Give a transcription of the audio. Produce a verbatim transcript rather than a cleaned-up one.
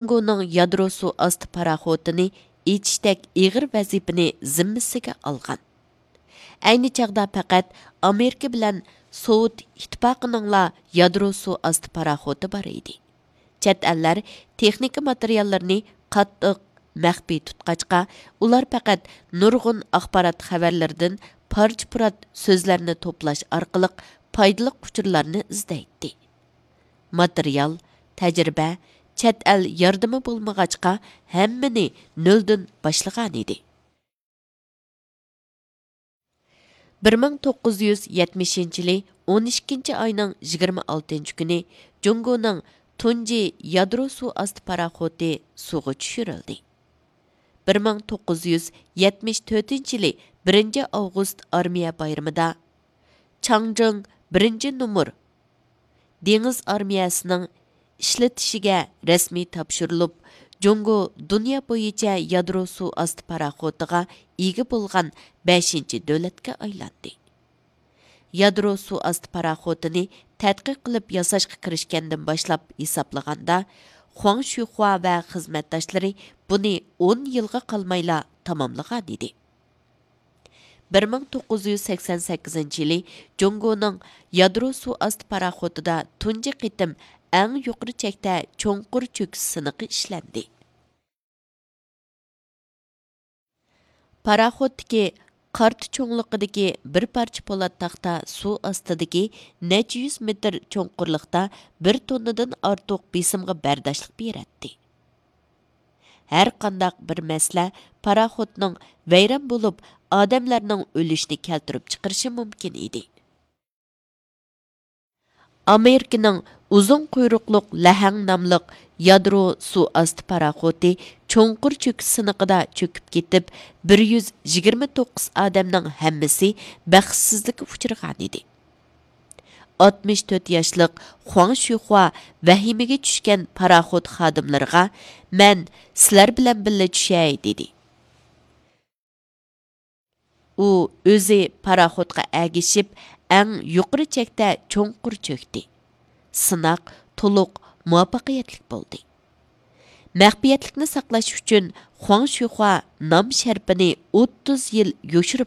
جۇڭگونىڭ يادرو سۇ ئاستى پاراخوتىنى ئېچىشتەك ئېغىر ۋەزىپىنى زىممىسىگە ئالغان. ئەينى چاغدا پەقەت ئامېرىكا بىلەن سوۋېت ئىتتىپاقىنىڭلا يادرو سۇ ئاستى پاراخوتى بار ئىدى. چەت ئەللەر تېخنىكا ماتېرىياللىرىنى قاتتىق مەخپىي تۇتقاچقا، ئۇلار پەقەت نۇرغۇن ئاخبارات خەۋەرلىرىدىن پارچە-پۇرات سۆزلەرنى توپلاش ئارقىلىق پايدىلىق ئۇچۇرلارنى ئىزدەيتتى. ماتېرىيال، تەجرىبە، چەت ئەل ياردىمى بولمىغاچقا، ھەممىنى نۆلدىن باشلىغانىدى. بىر مىڭ توققۇز يۈز يەتمىشىنچى يىلى ئون ئىككىنچى ئاينىڭ يىگىرمە ئالتىنچى كۈنى جۇڭگونىڭ تۇنجى يادرو سۇ ئاستى پاراخوتى سۇغا چۈشۈرۈلدى. بىر مىڭ توققۇز يۈز يەتمىش تۆتىنچى يىلى بىرىنچى ئاۋغۇست ئارمىيە بايرىمىدا چاڭجىڭ بىرىنچى نومۇر دېڭىز ئارمىيەسىنىڭ ئىشلىتىشىگە رەسمىي تاپشۇرۇلۇپ، جۇڭگو دۇنيا بويىچە يادرو سۇ ئاستى پاراخوتىغا ئىگە بولغان بەشىنچى دۆلەتكە ئايلاندى. يادرو سۇ ئاستى پاراخوتىنى تەتقىق قىلىپ ياساشقا كىرىشكەندىن باشلاپ ھېسابلىغاندا، خۇاڭ شۈيخۇا ۋە خىزمەتداشلىرى بۇنى ئون يىلغا قالمايلا تاماملىغانىدى. بىر مىڭ توققۇز يۈز سەكسەن سەككىزىنچى يىلى جۇڭگونىڭ يادرو سۇ ئاستى پاراخوتىدا تۇنجى قېتىم ئەڭ يۇقىرى چەكتە چوڭقۇر چۆكۈش سىنىقى ئىشلەندى. پاراخوتتىكى قارتا چوڭلۇقىدىكى بىر پارچە پولات تاختا سۇ ئاستىدىكى نەچچە يۈز مېتىر چوڭقۇرلۇقتا بىر توننىدىن ئارتۇق بېسىمغا بەرداشلىق بېرەتتى. ھەرقانداق بىر مەسىلە پاراخوتنىڭ ۋەيران بولۇپ، ئادەملەرنىڭ ئۆلۈشىنى كەلتۈرۈپ چىقىرىشى مۇمكىن ئىدى. ئامېرىكىنىڭ ئۇزۇن قۇيرۇقلۇق لەھەڭ ناملىق يادرو سۇ ئاستى پاراخوتى چوڭقۇر چۆكۈش سىنىقىدا چۆكۈپ كېتىپ، بىر يۈز يىگىرمە توققۇز ئادەمنىڭ ھەممىسى بەختسىزلىككە ئۇچرىغانىدى. ئاتمىش تۆت ياشلىق خۇاڭ شۈيخۇا ۋەھىمىگە چۈشكەن پاراخوت خادىملىرىغا، «مەن سىلەر بىلەن بىللە چۈشەي» دېدى. ئۇ ئۆزى پاراخوتقا ئەگىشىپ، ئەڭ يۇقىرى چەكتە چوڭقۇر چۆكتى. سىناق تولۇق مۇۋەپپەقىيەتلىك بولدى. مەخپىيەتلىكنى ساقلاش ئۈچۈن خۇاڭ شۈيخۇا نام شەرىپىنى ئوتتۇز يىل يوشۇرۇپ